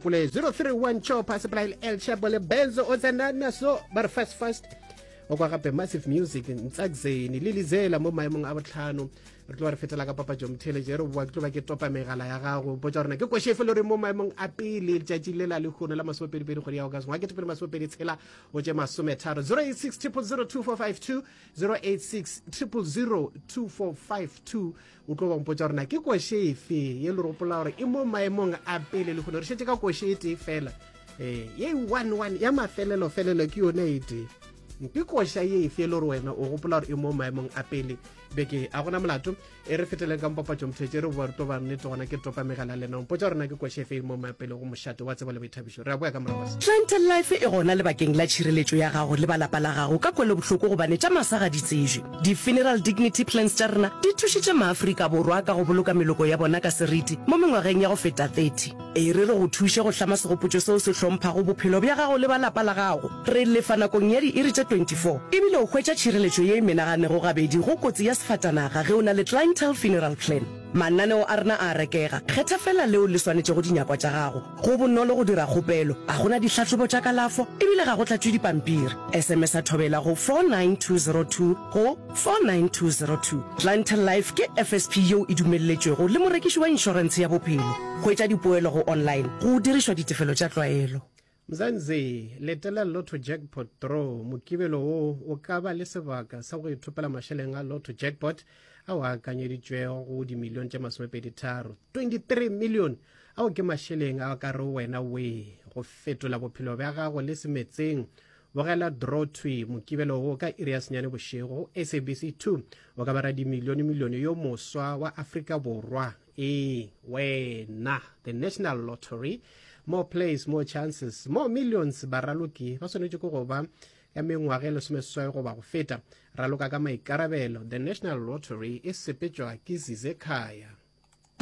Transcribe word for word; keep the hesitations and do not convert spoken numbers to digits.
Pule zero three one Chopa sepela El Chapo le Benzo o tsena naso ba re fast fast o kwa gape Massive Music Ntsakzeni le Lizela mo maemong a botlhano. Re tlo re fetela ka papatšo motheletše re boa ke tlo ba ke topa megala ya gago potša rena ke košefe le re mo maemong a pele letšatši le la lehono la masomepedi-pedi kgwedi ya August ngwaga ketepedi masomepedi tshela go tše masometharo. Zero eight six triple zero two four five two, zero eight six triple zero two four five two. O tlo ba mpotša gore na ke koše efe ye le gopola gore e mo maemong a pele lehono. Re šetše ka koše e tee fela, eh ye one one ya mafelelo felelo ke yone e tee. Ke koša ye efe e le gore wena o gopola gore e mo maemong a pele beke? A gona molato, e re feteleng ka mpapatšo mothetše re boa re tlo ba nnete gona ke topa megala lena mpotša gore na ke koše efe e mo maemong a pele go mošate wa tsebo le boithabišo. Re a boya ka morago ga se. Clientele Life e gona lebakeng la tšhireletšo ya gago le ba lapa la gago ka kwelobohloko gobane tša masa ga di tsejwe. Di-funeral dignity plans tša rena di thušitše maAfrika Borwa ka go boloka meloko ya bona ka seriti mo mengwageng ya go feta thirty. E re re go thuše go hlama segopotšo seo se hlomphago bophelo bja gago le ba lapa la gago. Re lefa nakong ya diiri tše twenty four ebile o hwetša tšhireletšo ye e menaganego gabedi go kotsi ya sefatanaga ge o na le Clientele Funeral Plan. Mananeo a rena a a rekega, kgetha feela leo le swanetšego dinyakwa tša gago. Go bonolo go dira kgopelo, ga go na dihlahlobo tša kalafo ebile ga go tlatšwe dipampiri. S M S a Thobela go four nine two zero two go four nine two zero two. Clientele Life ke F S P yeo e dumelletšwego le morekiši wa inšorentshe ya bophelo. Hwetša dipoelo go online go dirišwa ditefelo tša tlwaelo. Mzansi, letela Lotto Jackpot Draw. Mokibelo wo o ka ba le sebaka sa go ithopela mašeleng a Lotto Jackpot ao a akanyeditšwego go dimilione tše masomepedi tharo, twenty three million. Ao ke mašeleng a ka re wena we go fetola bophelo bja gago le semetseng. Bogela draw thwi mokibelo wo ka iri ya senyane bošego go S A B C two. O ka ba radimilione milione yo moswa wa Afrika Borwa. Ee, wena. The National Lottery, more plays, more chances, more millions. Baraloki ba swanetše ke go ba ya mengwaga e lesomeseswai goba go feta. Raloka ka maikarabelo. The National Lottery e sepetšwa ke Zizekhaya.